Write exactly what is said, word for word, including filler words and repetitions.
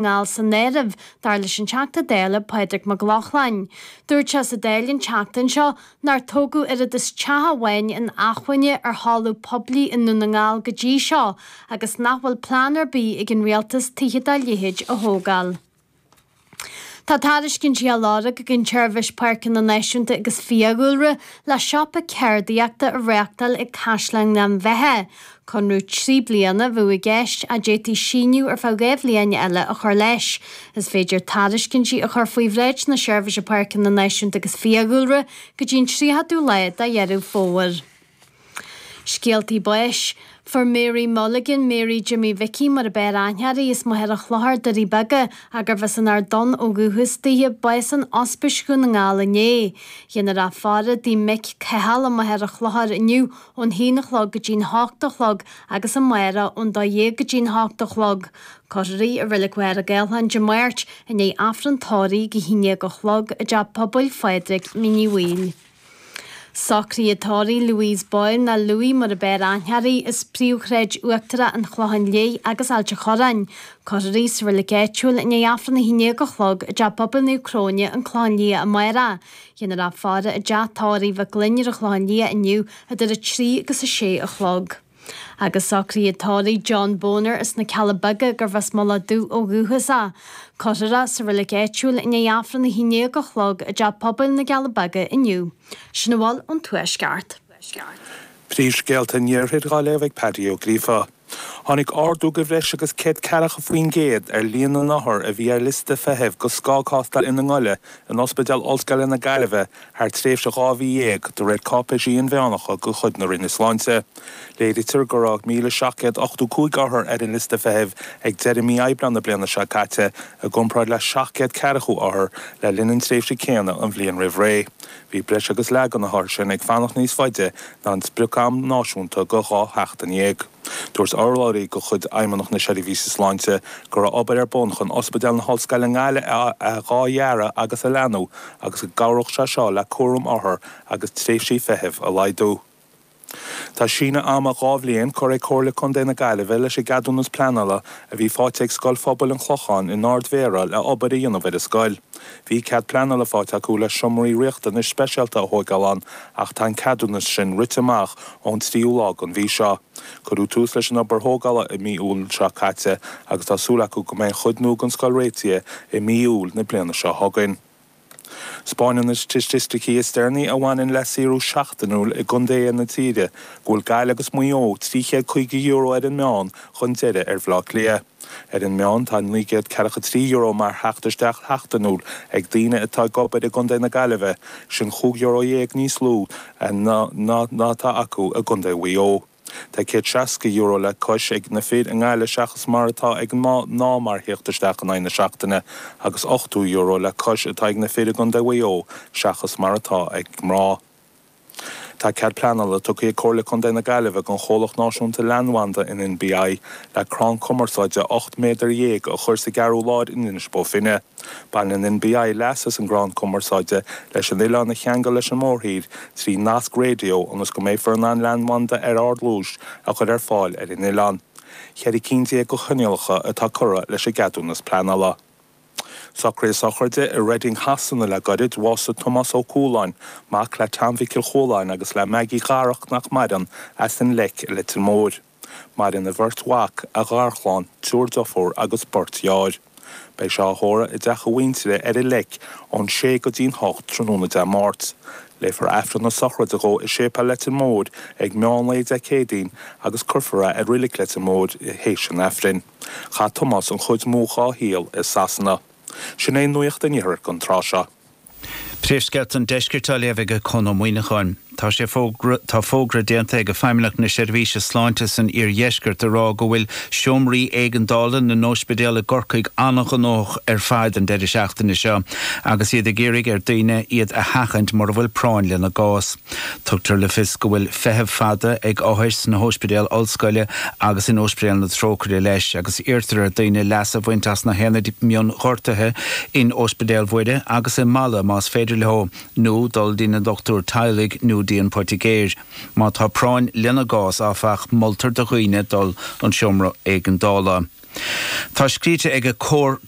nGall san áireamh, dar leis an Teachta Dála Pádraig Mac Lochlainn. Dúirt sé sa Dáil an tseachtain seo nár tógadh oiread is teach amháin inacmhainne ar thalamh poiblí i nDún na nGall go dtí seo agus nach bhfuil plean ar bith ag an rialtas tithe dá leithéid a thógáil. Tá tairiscintí á lorg ag an tSeirbhís Páirceanna Náisiúnta agus Fiadhúlra le siopa ceardaíochta a reáchtáil ag Caisleán Ghleann Bheatha. Conradh trí bliana a bheadh i gceist a d'fhéadfaí síneadh ar feadh dhá bhliain eile a chur leis. Is féidir tairiscintí a chur faoi bhráid na Seirbhíse Páirceanna Náisiúnta agus Fiadhúlra go dtí an tríochadú lá de Dheireadh Fómhair. Scéaltaí báis. Fuair Mary Mulligan, Mary Jimmy Mhicí mar ab fhearr aithne uirthi, as Machaire Chlochair, Doirí Beaga, gurbh as an Ard Donn ó dhúchas dithe, bás in Ospís Dhún na nGall inné. Déanfar í a fhaire i dtigh mic Cathal i Machaire Chlochair inniu ón haon a chlog go dtí'n hocht a chlog agus amárach ón dó dhéag go dtí'n hocht a chlog. Cuirfear í i Reilig Mhachaire Gathlán Dé Máirt i ndiaidh Aifreann tórraimh ag a haon déag a chlog i dTeach Pobail Phádraig, Mín Uí Bhaoill. Socruithe tórraimh Louise Boyle nó Louis mar ab fhearr aithne uirthi, as Príomhshráid Uachtarach an Chlocháin Léith agus Ailt an Chorráin. Cuirfear í sa reilig áitiúil i ndiaidh Aifreann a haon déag a chlog i dTeach Pobail Naomh Cróine, an Clochán Liath amárach. Déanfar í a fhaire i dteach tórraimh Mhic Gloinn ar an Chlochán Liath inniu idir a trí agus a sé a chlog. Agus socruithe tórraimh John Boner as na Cealla Beaga gurbh as Mullach Dubh ó dhúchas é. Cuirfear é sa reilig áitiúil i ndiaidh Aifreann a haon déag a chlog i dTeach Pobail na gCealla Beaga inniu. Sin a bhfuil ón Tuaisceart. Príomhscéalta an Iarthair á léamh ag Paddy Ó Gríofa. Tháinig ardú de bhreis agus céad ceathracha faoin gcéad ar líon na n-othar a bhí ar liosta feithimh do scagthástáil ina ngoile in Ospidéal Ollscoile na Gaillimhe thar tréimhse dhá mhí dhéag, de réir cáipéisí inmheánacha de chuid na Roinne Sláinte. Léirítear go raibh míle seacht gcéad ochtó cúig othar ar an liosta feithimh ag deireadh mí Aibreáin na bliana seo caite, i gcomparáid le seacht gcéad ceathracha othar le linn an tréimhse céanna an bhliain roimh ré. Bhí breis agus leath de na hothair sin ag fanacht níos faide ná an sprioc-am náisiúnta de dhá sheachtain dhéag. Dúirt urlabhraí de chuid Fheidhmeannacht na Seirbhíse Sláinte go raibh obair ar bun chun Ospidéal na hOllscoile i nGaillimh a athdhearadh agus a leathnú agus go gcabhródh sé seo le cúram othar agus tréimhsí feithimh a laghdú. Tá síneadh ama dhá bhliain curtha ag Comhairle Contae na Gaillimhe leis an gceadúnas pleanála a bhí faighte ag Scoil Phobail an Chlocháin in Ard Mhéara le obair a dhéanamh ar an scoil. Bhí cead pleanála faighte acu le seomraí riachtanais speisialta a thógáil ann ach tá an ceadúnas sin rite amach ón tríú lá den mhí seo. Cuireadh tús leis an obair thógála i mí Iúil seo caite agus tá súil acu go mbeidh an chuid nua den scoil réitithe i mí Iúil na bliana seo chugainn. 'Spáineann na staitisticí is deireanaí a bhaineann le saothrú seachtainiúil i gcontaetha na tíre go bhfuil Gaillimh agus Maigh Eo trí chéad caoga euro ar an meán chun deiridh ar Bhaile Átha Cliath. Ar an meán tá naoi gcéad ceathracha trí euro mar theacht isteach sheachtainiúil ag daoine atá ag obair i gContae na Gaillimhe, sin chúig euro dhéag níos lú ná ná atá acu i gContae Mhaigh Eo. Tá céad seasca euro le cois ag na fir i nGaillimh seachas mar atá ag mná mar theacht isteach in aghaidh na seachtaine agus ochtó euro le cois atá ag na fir i gContae Mhaigh Eo seachas mar atá ag mná. Tá cead pleanála tugtha ag Comhairle Contae na Gaillimhe don chomhlacht náisiúnta leathanbhanda an N B I le crann cumarsáide ocht méadar dhéag a chur sa gCeathrú Láir in Inis Bó Finne. Baineann N B I leas as an gcrann cumarsáide leis an oileán a cheangal leis an mórthír trí nasc raidió ionas go mbeifear in ann leathanbhanda ar ardluas a chur ar fáil ar an oileán. Ceithre cinn déag de choinníollacha atá curtha leis an gceadúnas pleanála. Socruithe sochraide i Reading Shasana le gairid bhásaigh Tomás Ó Cualáin, mac le Tom Mhichíl Chualáin agus le Maggie Dharach nach maireann as an Leic i Leitir Móir. Maireann a bheirt mhac, a gharchlann, triúr deirfiúr agus beirt dheartháir. Beidh sé á thórramh i dteach a mhuintire ar an Leic ón sé go dtí'n hocht tráthnóna Dé Máirt. Léifear Aifreann na sochraide dhó i Séipéal Leitir Móir ag meán lae Dé Céadaoin agus cuirfear é i Reilig Leitir Móir théis an Aifrinn. Chaith Tomás an chuid mó dá shaol i Sasana. Sin é nuacht an iarthair don tráth seo. Príomhscéalta an deiscirt á léamh ag Conn Ó Muíneacháin. Tá sé fógra tá fógra déanta ag Feidhmeannacht na Seirbhíse Sláinte san iardheisceart a rá go bhfuil seomraí éigeandála na n-ospidéal i gCorcaigh an-ghnóthach ar fad an deireadh seachtaine seo, agus iad ag iarraidh ar daoine iad a sheachaint mura bhfuil práinn lena gcás. Tugtar le fios go bhfuil feithimh fada ag othair sna hospidéil ollscoile agus in Ospidéal na Trócaire leis, agus iarrtar ar daoine leas a bhaint as na haonaid mionghortuithe in Ospidéal Mhuire agus i Mala más féidir leo, nó dul dtí na dochtúir teaghlaigh nó dtí an poitigéir. Má tá práinn lena gcás áfach moltar do dhaoine dul an seomra éigeandála. Tá scríte ag Comhar